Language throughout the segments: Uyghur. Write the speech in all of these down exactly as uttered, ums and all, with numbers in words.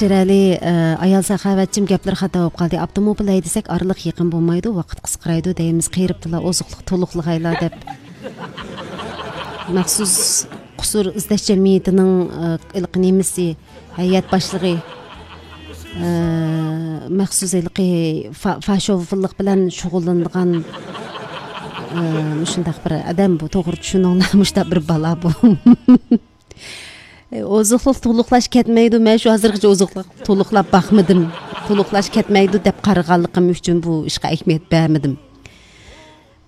شىرئەلى، ئە، ئايال ساخاۋەتچىم گەپلىرى خاتا بولۇپ قالدى. ئاپتوموبىل ھەيدىسەك ئارىلىق يېقىن بولمايدۇ، ۋاقىت قىسقىرايدۇ دەيمىز، قېرىپتىلا ئوزۇقلۇق تولۇقلىغايلا دەپ. مەخسۇس قۇسۇر ئىزدەش جەمئىيىتىنىڭ، ئە، ھېلىقى نېمىسى، ھەيئەت باشلىقى، ئە، مەخسۇس ھېلىقى فا-، فاشوفىللىق بىلەن شۇغۇللىنىدىغان، ئە، مۇشۇنداق بىر ئادەم بۇ. توغرا چۈشىنىڭلار، مۇشۇنداق بىر بالا بۇ. ئوزۇقلۇق تولۇقلاش كەتمەيدۇ. مەن شۇ ھازىرغىچە ئوزۇقلۇق تولۇقلاپ باقمىدىم. تولۇقلاش كەتمەيدۇ دەپ قارىغانلىقىم ئۈچۈن بۇ ئىشقا ئەھمىيەت بەرمىدىم.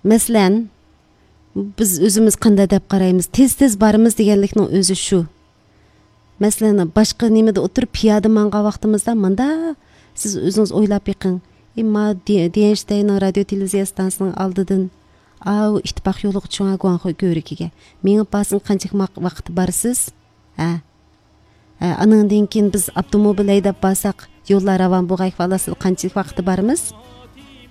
مەسىلەن، بىز ئۆزىمىز قانداق دەپ قارايمىز؟ تېز-تېز بارىمىز دېگەنلىكنىڭ ئۆزى شۇ. مەسىلەن، باشقا نېمىدە ئولتۇرۇپ پىيادە ماڭغان ۋاقتىمىزدا مۇندا، سىز ئۆزىڭىز ئويلاپ بېقىڭ. ئى، ما دى-، دىيەنشتەينىڭ رادىيو تېلېۋىزىيە ئىستانسىسىنىڭ ئالدىدىن ئاۋۇ ئىتتىپاق يولىغا چوڭ گۇاڭخۇي كۆۋرۈكىگە مېڭىپ بارسىڭىز قانچىلىك ۋاق-، ۋاقىت بارىسىز؟ ھە؟ ھە، ئانىڭدىن كېيىن بىز ئاپتوموبىل ھەيدەپ بارساق، يوللار راۋان بولغايغا ئالاسىز قانچىلىك ۋاقىتتا بارىمىز؟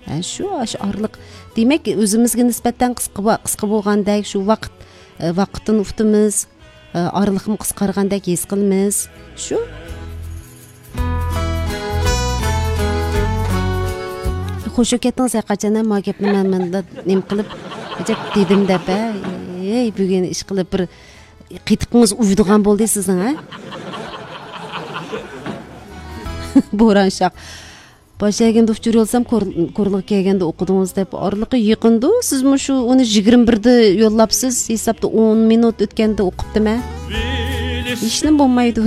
ھە، شۇ، شۇ ئارىلىق. دېمەك، ئۆزىمىزگە نىسبەتەن قىسقا ۋا-، قىسقا بولغاندەك، شۇ ۋاقىت، ئە، ۋاقىتتىن ئۇتىمىز، ئە، ئارىلىقمۇ قىسقارغاندەك ھېس قىلىمىز. شۇ. خوش كەتتىڭىز ھەقىقەتەن، ما گەپنى مەن مەندە نېمە قىلىپ، ئەجەب دېدىم دەپ، ھە؟ ئەي، بۈگۈن ئىش قىلىپ بىر قېتىقىڭىز ئۇيىدىغان بولدى سىزنىڭ، ھە؟ بوران شاق. باش ئەگەندە ئۇچۇر يوللىسام، كور-، كورلىغا كەلگەندە ئوقۇدىڭىز دەپ. ئارىلىقى يېقىندۇ، سىزمۇ شۇ ئۇنى يىگىرمە بىردە يوللاپسىز، ھېسابتا ئون مىنۇت ئۆتكەندە ئوقۇپتىمەن. ھېچنېمە بولمايدۇ.